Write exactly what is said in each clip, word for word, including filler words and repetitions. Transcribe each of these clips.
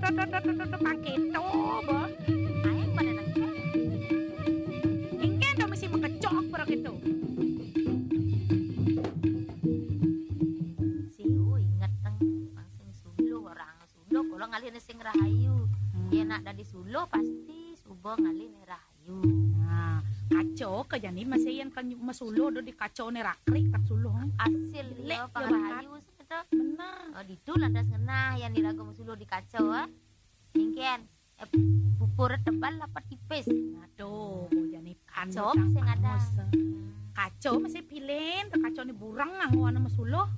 Pang kéto, bo. Aéng pada nang. Éngkén to mesti makecok para kéto. Siu inget teng pang sing suluh, orang suluh kula ngalih sing rahayu. Hmm. Yén nak dadi suluh pasti suba ngalih rahayu. Nah, kaca ka jani masih yén kan masuluh do di kaca né rakrik tak suluh. Asil jelek ya pang rahayu sing to. Bener. Oh, ditu lantas ngenah yén iraga masuluh di kaca, ah. Éngkén, eh, pupur tebal apa tipis? Aduh, jani kaca sing ada. Kaca masih pilih, kaca né burang nganggo ana masuluh.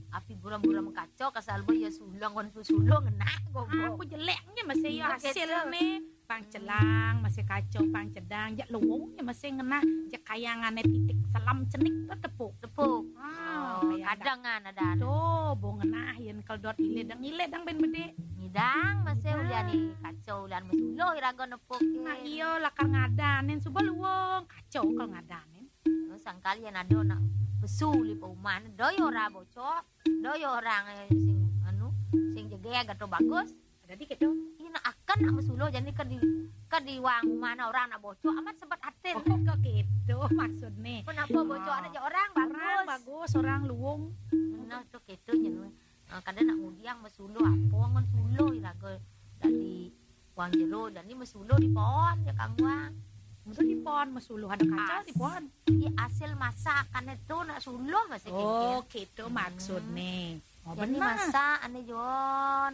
Api buram-buram kaca kasal bo ya sulang kon suluh ngenah gogo. Aku jeleknya masih ya hasilné. Pang celang masih kaca, pang cedang, jak luwungnya masih ngenah, jak kayangané titik selam cenik to tepuk. Tepuk. Ah, oh, kayangan ada. Tuh, bo ngenah yén keldot ilé dang ilé dang ben bedé. Ngidang masih ulian kaca ulian masuluh iraga nepuk. Nah, iya lakar ngadanin suba luwung, kaca kal ngadanin. Sangkal yén ada nak pesu li pauman, do ya ora bocok, do ya orang, eh, sing anu, sing jegég atau bagus. Dadi kéto. Ina akan nak masuluh jani ka di, ka di wang umahna orang nak bocok amat sebet atin. Oh, ka kéto maksudné. Kenapa bocok anak je orang bagus. Orang bagus, orang luwung. Nah, to kéto nyen. Nah, kadang nak ngudiang masuluh apa ngon suluh iraga dadi wang jero jani masuluh di pohon ya kang wang. Masa di pohon masuluh ada kaca di pohon. Di hasil masakan itu nak suluh masih. Oh, kéto maksudné. Oh, jani bener. Masak ané Jon.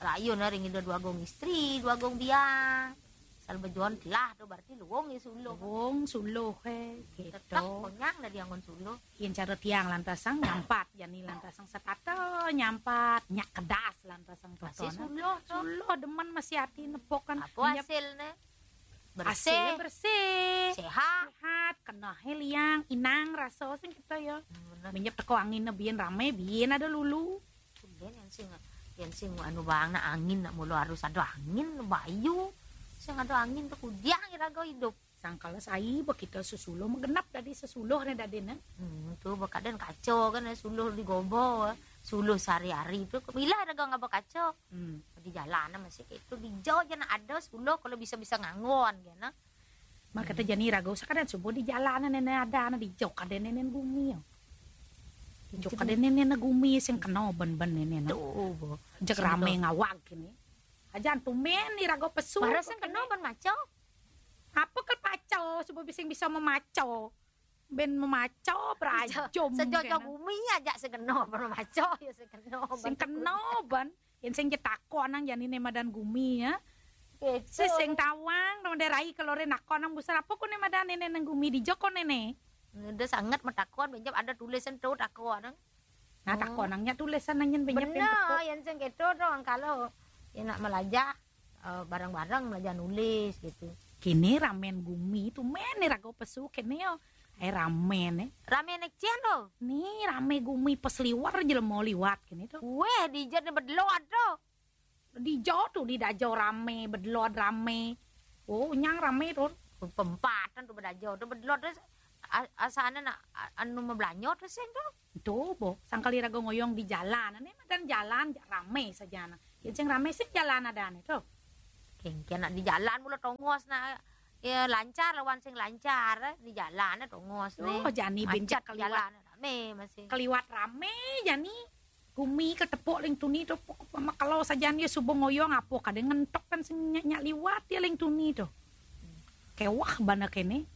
Rayun ring ida dua gong istri, dua gong biang. Sal bejuan telah tu berarti luwung ya suluh. Luwung suluh, eh, gitu. Tetep konyang dari angon suluh. Yen cara tiang lantasang nyampat, jani lantasang setata nyampat, nyak kedas lantasang. Masih totona. Suluh, toh. Suluh demen masih hati nepok kan. Apa hasilnya? Bersih. Hasilnya bersih. Sehat. Sehat, kena liang, inang rasa sing kita ya. Hmm, bener. Minyak teko angin biyen rame, biyen ada lulu. Tumben yang sing, yang sing anu bang nak angin nak mulu harus ada angin bayu. Sing ada angin tu kudiang iraga hidup. Sangkala sai ba kita sesuluh menggenap dadi sesuluh ne dadine. Hmm, tu bakaden kaca kan suluh di gobo. Suluh sehari-hari tu bila iraga ngaba kaca. Hmm. Di jalan masih kayak itu di jauh je nak ada suluh kalau bisa-bisa ngangon kan. Mak kata jani raga usah kadang subuh di jalan nene ada anak di jok ada nene gumi yo. Di jok ada nene gumi sing kena ben-ben nene. Tuh, bo. Jek rame ngawag kini. Ajan tumben ni raga pesu. Mara sing kena ben maco. Apa ke paco subuh bising bisa memaco. Ben memaco berajum. Sejojo gumi aja sing kena ben maco ya sing kena. Sing kena ben. Yen sing je takon nang jani ne madan gumi ya. Sing tawang nang de rai kelore nakon nang busar apa ko ne madan ne nang gumi di joko ne ne. Udah sangat metakon benjep ada tulisan tu takon nang. Nah, takon nang nya tulisan nang yen benjep. Bener, yen sing keto dong kalau yen nak melajah, eh, bareng-bareng melajah nulis gitu. Kini ramen gumi tu men ne raga pesu kini yo. Eh, ramen eh. Ramen ne cen tu. Ni rame gumi pesliwer jelema liwat kini tu. Weh, dijat ne bedlot tu. Di jauh tu di dajau rame, bedlot rame. Oh, nyang rame tu. Pempatan tu bedajau tu bedlot tu. Asana nak anu mebelanyo tu sing tu. Tu bo, sangkali raga ngoyong di jalan. Ane madan jalan rame saja na. Yen sing rame sing jalan ada ane tu. Kengken nak di jalan mula tongos nak ya lancar lawan sing lancar di jalan tongos ne. Oh, jani benjak kaliwat. Jalan rame masih. Kaliwat rame jani. Gumi ketepuk ling tuni tu pok makalo sajan dia subuh ngoyong apa kadang ngentok kan sing nyak, nyak liwat dia ling tuni tu. Kewah bana kene.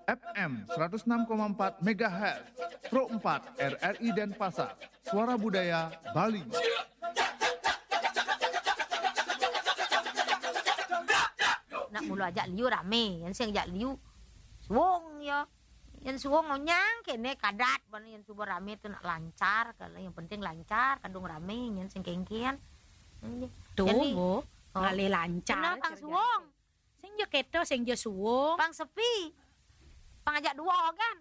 F M seratus enam koma empat megahertz, Pro empat R R I Denpasar, Suara Budaya Bali. Nak mulu ajak liu rame, yang sing ajak liu suwung ya. Yang suwung onyang kene kadat ban yang suba rame tu nak lancar kalau yang penting lancar kadung rame yang sing kengken. Tuh, ngalih lancar. Kenal pang suwung. Sing je keto, sing je suwung. Pang sepi. Pang ajak dua kan.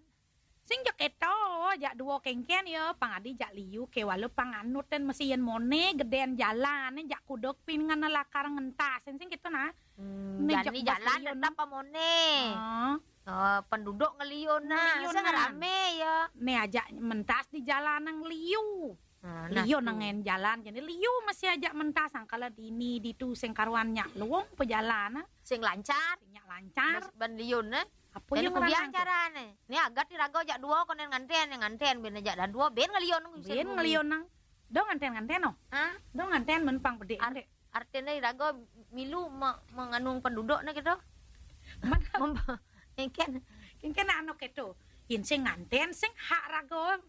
Sing je keto, ajak dua kengken ya, pang adi jak liu ke walau pang anut dan mesti yen mone geden jalan jak kuduk pin ngana lakar ngentas sing sing keto nah. Hmm, jani jalan tetap pamone. Ah. Oh, penduduk ngeliun nah, ngeliun sing nah. Rame ya. Nih ajak mentas di jalan nang liu. Nah, liu tu. Nengen jalan jadi liu masih ajak mentas angkala dini ditu sing karuan nyak luung pejalan nah. Sing lancar. Sing nyak lancar. Ban liun nah. Apa yang kubiang carane? Nih agat iraga jak dua konen nganten, nganten ben jak dah dua ben ngeliun. Ben ngeliun nang. Do nganten-nganten no. Hah? Do nganten men pang bedik. Artine iraga milu menganung penduduk ne gitu. Engken engken anu keto. Yen sing nganten sing hak raga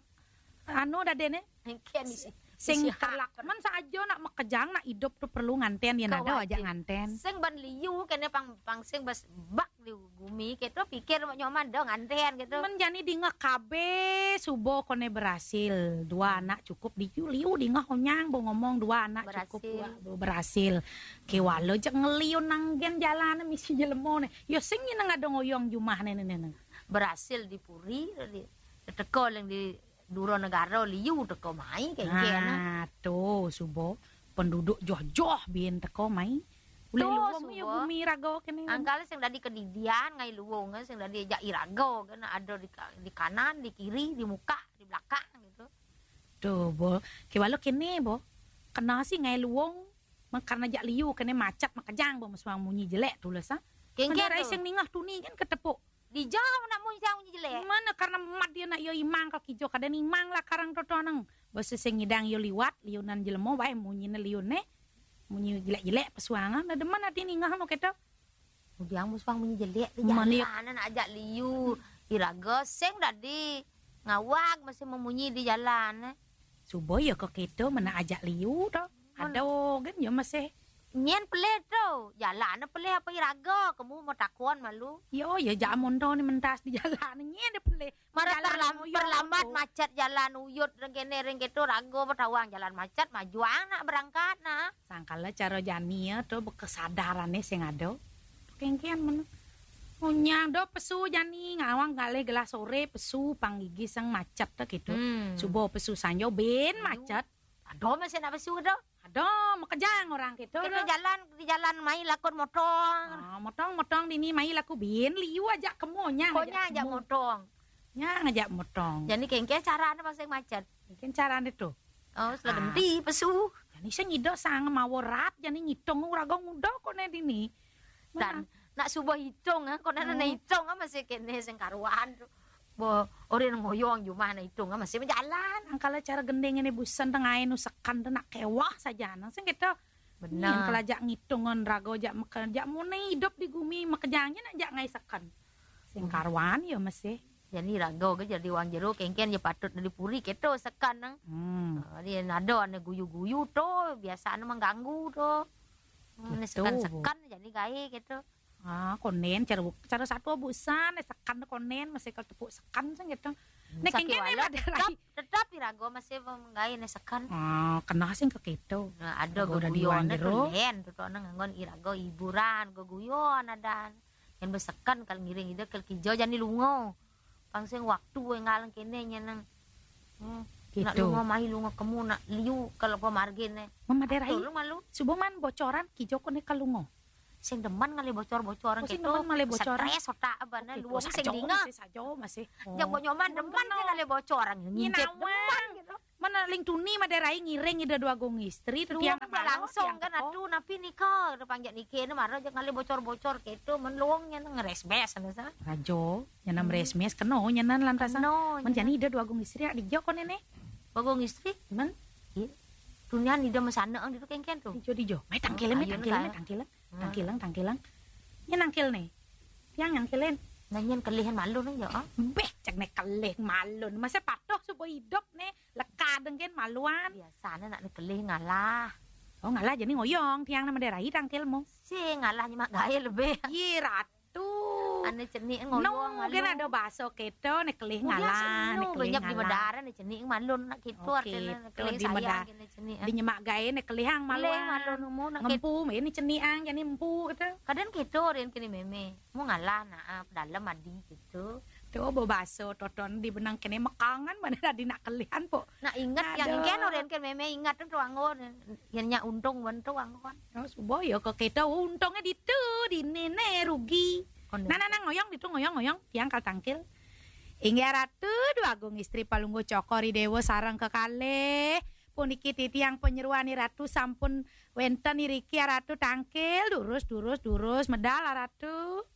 anu dadene. Engken sing terlak men saja nak makejang nak idup tu perlu nganten yen ada aja nganten. Sing ban liu kene pang pang sing bas bak di gumi keto pikir nyoman do nganten gitu. Men jani dingeh kabe suba kone berhasil dua anak cukup di liu dingeh onyang bo ngomong dua anak cukup berhasil. Kewala jek ngeliun nanggen jalane misi jelema ne. Ya sing nyineng ada ngoyong jumah ne ne ne. Berhasil di puri di teko leng di dura negara liu teko mai kengken. Nah, tu suba penduduk joh-joh bin teko mai. Ulih luung ya bumi raga kene. Angkal sing dadi kedidian ngai luung sing dadi jak iraga kene ada di, di kanan, di kiri, di muka, di belakang gitu. Tu bo, kewala kene bo. Kena si ngai luung karena jak liu kene macet makejang bo mesuang munyi jelek tulis ah. Kengken sing ningah tuni kan ketepuk. Dijauh nak munyi sang munyi jelek. Mana karena mat dia nak yo imang kal kijo kada ni imang lah karang toto nang. Basa sing ngidang yo liwat liunan jelema wae munyi ne liun ne. Munyi jelek-jelek pesuangan ada mana dia ningah no keto. Udiang pesuang munyi jelek di jalan nak ajak liu. Iraga sing dadi ngawag masih memunyi di jalan. Suba ya kok keto mana ajak liu to. Ada kan ya masih. Nyen pelih tu, jalan pelih apa iraga, kamu mau takon malu. Yo, ya jak mondo ni mentas di jalan nyen dia pelih. Marah terlambat macet jalan uyut ring kene ring keto raga betawang jalan macet majuang nak berangkat nah. Sangkala cara jani ya tu bekesadarane sing ada. Kengken men. Munyang do pesu jani ngawang galih gelah sore pesu pang gigi sing macet tu gitu. Hmm. Subuh pesu sanjo ben macet. Ada masih nak pesu tu. Ada makejang orang kita. Kita jalan di jalan mai lakun motong. Ah, motong motong dini mai laku bin liu aja kemu nya. Konya aja motong. Nya ngajak motong. Jadi kengke carane masing macet. Mungkin carane tu. Oh, sudah genti pesu. Jadi saya ngido sang mawa rat jadi ngitung uraga ngudo kone dini. Dan nak subuh hitung ah, kone nak hitung ah masih kene sing karuan tu. Bo, ori ngoyong jumah na itung masih berjalan. Angkala cara gending ini busan tengah nu sekan tu nak kewah saja nang sing gitu. Benar. Yang kelajak ngitungan raga jak mekerja mune hidup di gumi makejangnya nak jak ngai sekan. Sing karuan ya masih. Jadi raga ke jadi wang jero kengken je patut dari puri keto sekan nang. Hmm. Ah, dia nado ane guyu-guyu tu biasa ane mengganggu tu. Hmm, sekan-sekan jadi gae gitu. Ah, konen cara cara satu busan eh, sekan konen masih kalau tepuk sekan sing gitu. Nek kengken ada rai. Tetap irago masih menggawe ne sekan. Ah, kena sing ke keto. Nah, ada geguyon tu len tu nang nganggon irago hiburan geguyon ada. Yang besekan kalau ngiring ide kalau kijo jani lungo. Pang sing waktu ngalang kene nyeneng. Hmm. Gitu. Nak lungo mai lungo kemu nak liu kalau pemargin ne. Mama derai. Tolong malu. Subuh man bocoran kijo kone kalungo. Sing demen ngalih bocor-bocoran gitu. Oh, sing demen ngalih bocoran. Stres otak abana luwung sing dinga. Masih sajo masih. Yang bo nyoman demen sing ngalih bocoran ngincit demen gitu. Mana ling tuni made rai ngiring ida dua gong istri tu tiang langsung kan atu napi nika udah panjak nike ne mara aja ngalih bocor-bocor gitu men luwung nyen ngeresbes anu sa. Rajo nyenam resmes keno nyenan lantasan. Men jani ida dua gong istri ak dijo kone ne. Dua gong istri? Men? Tunian ida mesana ang ditu kengken tu. Dijo dijo. Mai tangkil mai tangkil mai tangkil. Tangkilang, tangkilang. Nya nangkil ne. Yang nangkilin. Nanyen kelihan malun aja, ah. Beh, cak ne kelih malun. Masa patuh subuh hidup ne, leka dengken maluan. Biasane nak ne kelih ngalah. Oh, ngalah jadi ngoyong tiang nama derai tangkilmu. Si ngalah nyemak gae lebih. Ye ratu. Ane cenik ngoyong malu. No, kan ada baso keto ne kelih ngalah, ne kelih ngalah. Banyak di medara ne cenik malun nak gitu artine ne kelih sayang kene cenik. Di nyemak gae ne kelih ang maluan. Kelih malun mu nak ngempu me ni cenik ang jani empu kata. Kadang gitu rin kene meme. Mu ngalah nak ah, dalam adi gitu. Tu bo baso toton di benang kene mekangan mana tadi nak kelihan po. Nak ingat yang ingken orang kan meme ingat tu anggon. Yang nya untung wan tu anggon. Oh, subo yo ke kita untungnya ditu di nene rugi. Nah, nah, nah, ngoyong ditu, ngoyong, ngoyong, tiang kal tangkil. Inggih Ratu, Duagung Istri Palungguh Cokor I Déwa sareng kekalih. Puniki titiang panyeroan I Ratu sampun wénten iriki, Ratu, tangkil, durus, durus, durus, medal, Ratu.